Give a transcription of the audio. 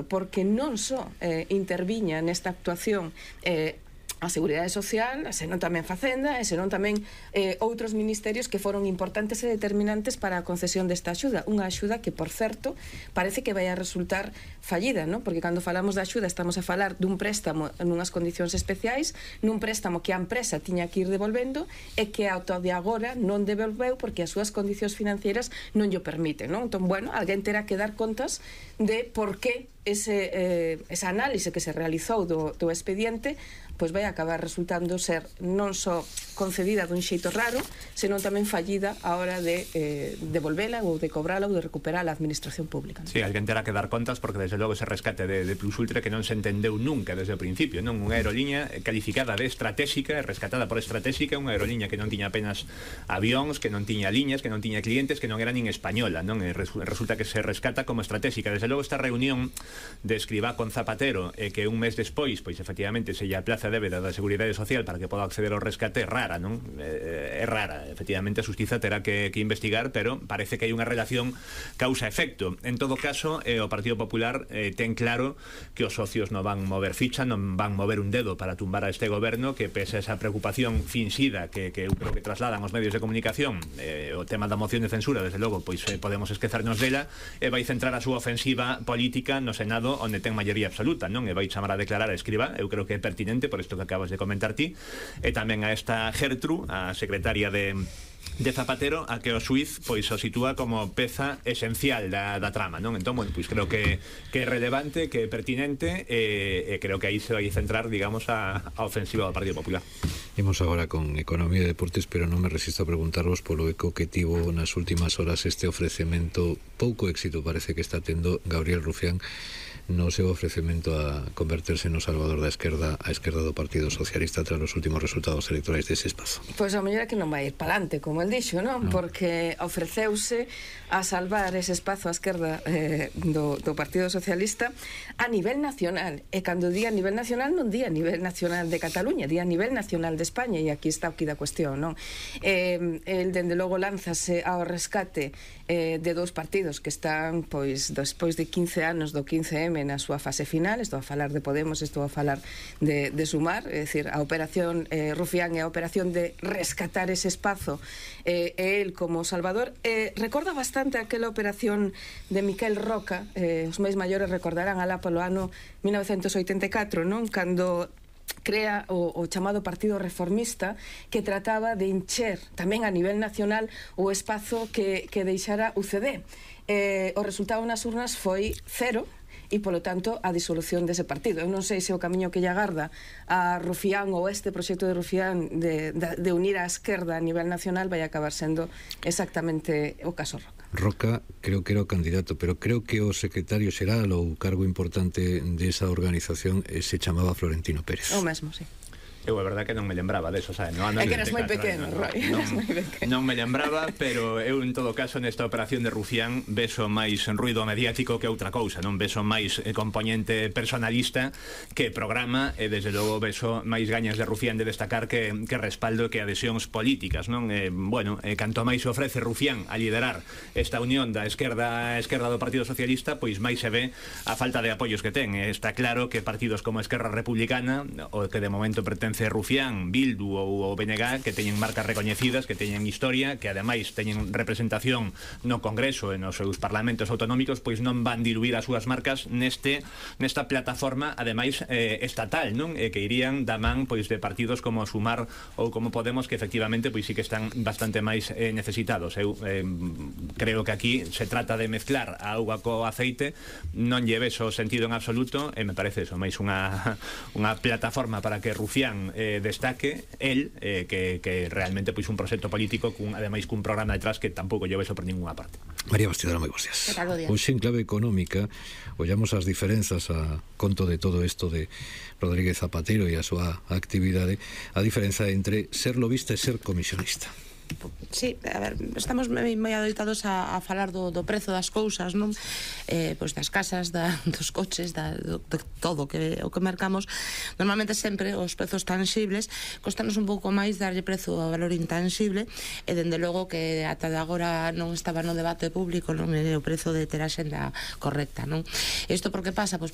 porque non só interviña nesta actuación a Seguridade Social, senón tamén Facenda, e senón tamén outros ministerios que foron importantes e determinantes para a concesión desta axuda. Unha axuda que, por certo, parece que vai a resultar fallida, non? Porque cando falamos da axuda estamos a falar dun préstamo nunhas condicións especiais, nun préstamo que a empresa tiña que ir devolvendo e que ata de agora non devolveu porque as súas condicións financeiras non llo permiten, non? Entón, bueno, alguén terá que dar contas de por que esa análise que se realizou do expediente pois vai acabar resultando ser non só concedida dun xeito raro, senón tamén fallida a hora de devolvela ou de cobrala ou de recuperar a administración pública. Sí, alguén terá que dar contas porque desde logo ese rescate de Plus Ultra que non se entendeu nunca desde o principio, non? Unha aeroliña calificada de estratégica, rescatada por estratégica, unha aeroliña que non tiña apenas avións, que non tiña liñas, que non tiña clientes, que non era nin española, non? Resulta que se rescata como estratégica. Desde logo esta reunión de Escrivá con Zapatero que un mes despois, pois efectivamente se lle aplaza débeda da Seguridade Social para que poda acceder ao rescate, é rara, non? É rara, efectivamente a Xustiza terá que investigar, pero parece que hai unha relación causa-efecto. En todo caso, o Partido Popular ten claro que os socios non van mover ficha, non van mover un dedo para tumbar a este goberno, que pese a esa preocupación finxida que eu creo que trasladan os medios de comunicación, o tema da moción de censura, desde logo, pois podemos esquecernos dela, e vai centrar a súa ofensiva política no Senado, onde ten maioría absoluta, non? E vai chamar a declarar a Escrivá, eu creo que é pertinente por isto que acabas de comentar ti, e tamén a esta Gertrude, a secretaria de Zapatero, a que o xuiz pois o sitúa como peza esencial da trama, non? Entón, bueno, pois creo que é relevante, que é pertinente, e creo que aí se vai centrar, digamos, a ofensiva do Partido Popular. Imos agora con Economía e Deportes, pero non me resisto a preguntarvos polo eco que tivo nas últimas horas este ofrecemento. Pouco éxito parece que está tendo Gabriel Rufián no seu ofrecemento a converterse no salvador da esquerda, a esquerda do Partido Socialista tras os últimos resultados electorais dese espazo. Pois a mellor é que non vai ir palante, como el dixo, non? Porque ofreceuse a salvar ese espazo a esquerda do Partido Socialista a nivel nacional, e cando di a nivel nacional non di a nivel nacional de Cataluña, di a nivel nacional de España, e aquí está o que da cuestión, non? El, dende logo, lánzase ao rescate de dous partidos que están, pois, despois de 15 anos do 15M na súa fase final. Estou a falar de Podemos, estou a falar de Sumar, é dicir, a operación Rufián e a operación de rescatar ese espazo e el como salvador. Recorda bastante aquela operación de Miquel Roca, os máis maiores recordarán alá polo ano 1984, non? Cando crea o chamado Partido Reformista, que trataba de encher tamén a nivel nacional o espazo que deixara UCD. O resultado nas urnas foi 0, e, polo tanto, a disolución dese partido. Eu non sei se o camiño que lle agarda a Rufián ou este proxecto de Rufián de unir a esquerda a nivel nacional vai acabar sendo exactamente o caso Roca. Roca creo que era o candidato, pero creo que o secretario xeral ou cargo importante desa organización se chamaba Florentino Pérez. O mesmo, sí. Eu a verdade que non me lembraba deso, sabe? É que eras moi pequeno, Roy. Non me lembraba, pero eu en todo caso nesta operación de Rufián beso máis ruido mediático que outra cousa, non beso máis componente personalista que programa, e desde logo beso máis gañas de Rufián de destacar que respaldo, que adhesións políticas, non? Bueno, canto máis se ofrece Rufián a liderar esta unión da esquerda do Partido Socialista, pois máis se ve a falta de apoios que ten. Está claro que partidos como Esquerra Republicana, o que de momento pertence Rufián, Bildu ou o BNG, que teñen marcas recoñecidas, que teñen historia, que ademais teñen representación no Congreso e nos seus parlamentos autonómicos, pois non van diluir as súas marcas nesta plataforma, ademais estatal, non? Que irían da man pois de partidos como Sumar ou como Podemos, que efectivamente pois sí que están bastante máis necesitados. Eu creo que aquí se trata de mezclar a auga co aceite, non lleve o sentido en absoluto, e me parece eso máis unha plataforma para que Rufián destaque el que realmente pois un proxecto político ademais cun programa detrás que tampouco lleva eso por ninguna parte. María Bastidora, moi bons días. Hoxe en clave económica ollamos as diferenzas a conto de todo isto de Rodríguez Zapatero e a súa actividade, a diferenza entre ser lobista e ser comisionista. Sí, a ver, estamos moi adoitados a falar do prezo das cousas, non? Pois das casas, dos coches, de todo o que mercamos. Normalmente sempre os prezos tangibles costanos un pouco máis darlle prezo ao valor intangible, e dende logo que ata de agora non estaba no debate público, non, o prezo de ter a xenda correcta, non? Isto por que pasa? Pois